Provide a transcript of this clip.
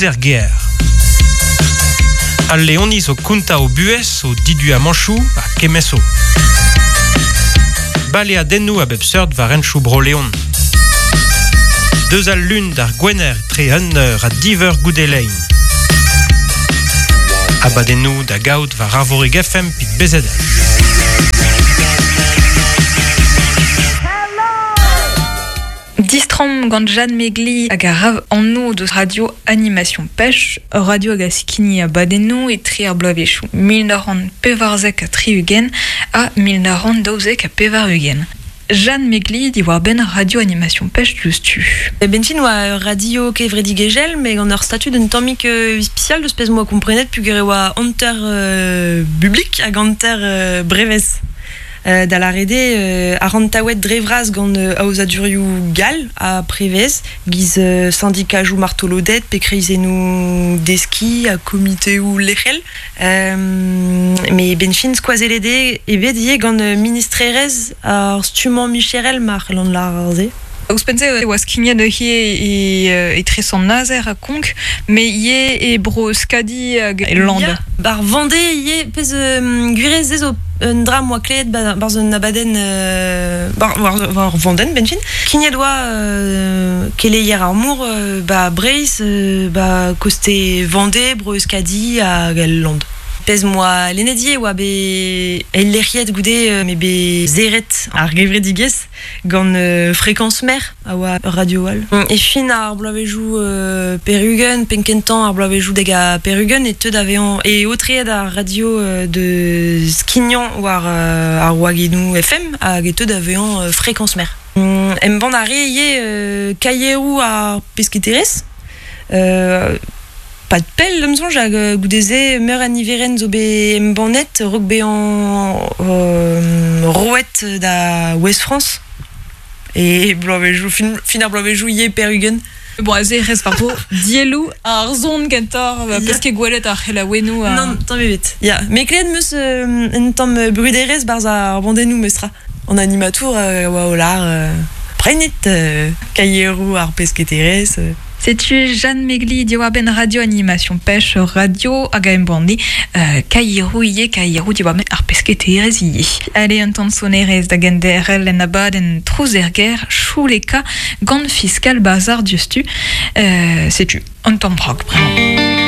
Trouz er gêr. Al Leoniz o kontañ o buhez, o diduamanchoù ha kemmeso. Baleadennoù a bep seurt war henchoù Bro-Leon. Deus al lun d'ar gwener tre un eur ha div eur goude lein. Abadennoù da gaout war Arvorig FM pit BZH. Distrom gant Jeanne Megli hag a ra anv deus radio Animation Pêche, ur radio hag a skign abadennoù etre ar bloavezhioù 1974 ha 1992. Jeanne Megli diwar-benn radio Animation Pêche diouzhtu. Benfin oa ur radio kevredigezhel met gant ur statud un tammig ispisial deus pezh 'moa komprenet peogwir e oa hanter bublik hag hanter brevez. Da lâret eo arc'hantaouet dre vras gant aozadurioù gall ha prevez, giz sindikajoù martoloded pe kreizennoù deskiñ ha komiteoù lec'hel. Met 'benn fin skoazellet eo bet ivez gant ministrerezh ar stummañ micherel ma c'hellan lâr se. Ouzhpenn-se e oa skignet neuze etre Sant-Nazer ha Konk, met ivez e Bro-Euskadi hag e Land. Ya, bar Vendée ivez, pezh gwir se zo un dra 'moa klevet barzh un abadenn war war Vandenn benn fin. Kignet oa keleier ar mor 'ba Breizh, 'ba koste Vendée, Bro-Euskadi hag el Land. Pezh 'moa lennet ivez e oa bet eillec'hiet goude m'eo bet serret ar gevredigezh. Gant Fréquence Mer a oa ur radio all. E fin ar bloavezhioù perugen, penn-kentañ ar bloavezhioù dek ha perugen e teu da vezañ e aotreet ar radio de skignañ war ar wagennoù FM hag e teu da vezañ Fréquence Mer. Embann a rae ivez kaieroù ar pesketerezh. Pad pell, da'm soñj, hag goude-se meur a niverenn zo bet embannet a-raok bezañ roet da Ouest-France e bloavezhioù fin, fin ar bloavezhioù ivez pe'r-ugent. Bon, aze rez war-dro dielloù ar son kentoc'h, peus ket gwelet ar c'helaouennoù. Nann, tamm ebet. Ya, met klevet 'm eus un tamm bruderezh 'barzh ar bandennoù memestra. An animatour a oa o lâr prenit kaieroù ar pesketerezh. Setu Jeanne Megli diwar-benn Radio Animation Pêche, radio hag a embanne kaieroù ivez, kaieroù diwar-benn ar pesketerezh ivez. Allez, un tamm sonerezh da genderc'hel en abadenn Trouz er gêr, Chouleka, gant Fiskal Bazar diouzhtu. Setu un tamm rock bremañ.